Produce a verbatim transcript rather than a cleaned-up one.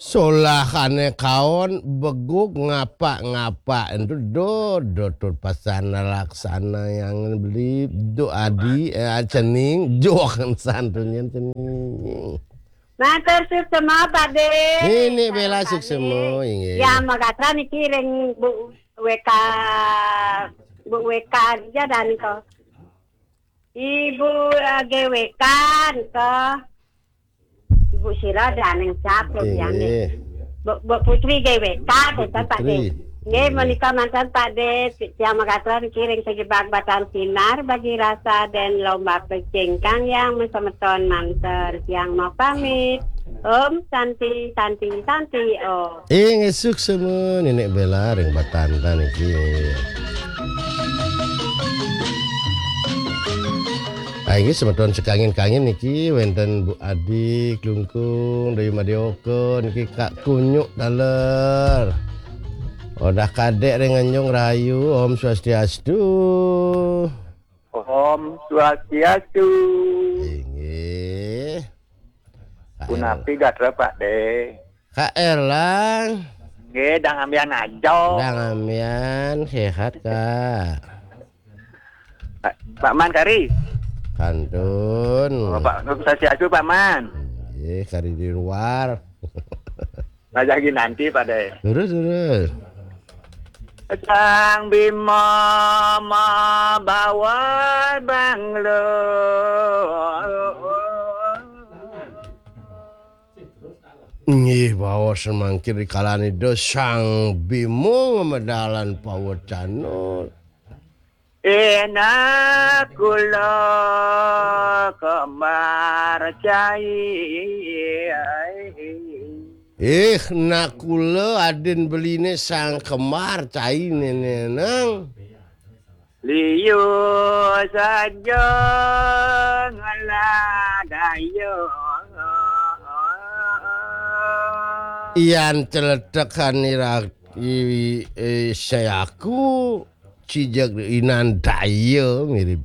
Solahane kaon beguk ngapak-ngapak entu do do tut pasana laksana yang beli do adi, eh, cening jokan santun yang cening. Matur suksema, Pak De. Nini Bela suksema, inggih. Ya, magatra niki ring Bu W K, Bu W K aja dan ko. Ibu, eh, G W K nika. Ibu Sira daning cap, Inggih. Bu, Bu Putri G W K, Bu Pak De. Putri. Nggih, menika manten Pak De, tiang megaten kiring sejebak batang sinar bagi rasa dan lomba pecing kang yang mesemeton manten. Tiang mau pamit. Om Santi, Santi, Santi, Om. Ing esuk semua Nenek Bela ring batanta niki. Ah, inggih semeton sekangin-kangin niki wenten Bu Adi, Klungkung, Dayu Madioka, niki Kak Kunyuk taler. Odah kadek ring Anjung Rahayu, Om Swastiastu. Om Swastiastu. Inggih. Punapi gatra Pak De? Kak Erlang. Nggih, dang ambian aja. Dang ambian, sehat, Kak. Pak, Pak Man kari. Kantun. Oh, Pak, Swastiastu, Pak Man. Nggih, kari di luar. Rajagi nanti, Pak De. Terus, terus. Sang Bima mabawa banglo. Nggih, bawa semangkir di kalane do Sang Bima medalan pawecana. Enak kula kembar cai. Ih, nak kula adin beline Sang Kembar cai nene nang. Liu saja ngeladaya. Yan celetekan ira i, eh, sayaku cijak inan daya mirip.